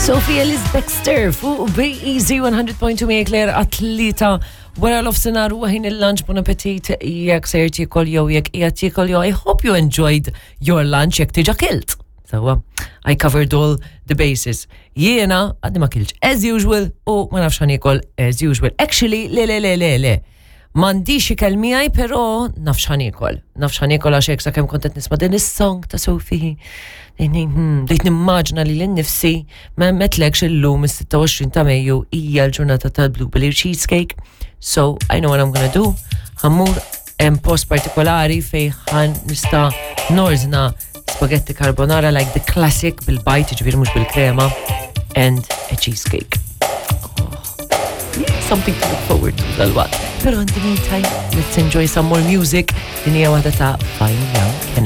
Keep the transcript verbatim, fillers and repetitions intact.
Sophie Ellis Bextor fuq B E Z one hundred point two miegħek Claire għat-tlieta wara nofsinhar u ħin il-lunch. Bon appetit jekk sejr tiekol jew jekk qiegħed tiekol jew I hope you enjoyed your lunch jekk diġà kilt. So, I covered all the bases. Jiena għadni ma kiltx as usual u ma nafx ħa niekol as usual. Actually, le, le, le, le, le. M'għandix ikel miegħi, però naf x'ħa niekol. Naf x'ħa niekol għax hekk sakemm kont qed nisma' din is-song ta' Sophie. Hmm, bdejt nimmaġina lili nnifsi. Ma għedtlekx, illum is-sitta u għoxrin ta' Mejju hija l-ġurnata tal-blueberry cheesecake. So I know what I'm gonna do. Ħa mmur hemm post partikolari fej ħa nista' nordna spaghetti carbonara, like the classic bil-bajd, ġifieri mhux bil-krema, and a cheesecake. Something to look forward to dal-waqt. Pero in the meantime, let's enjoy some more music. Din hija waħda ta' Fine Young.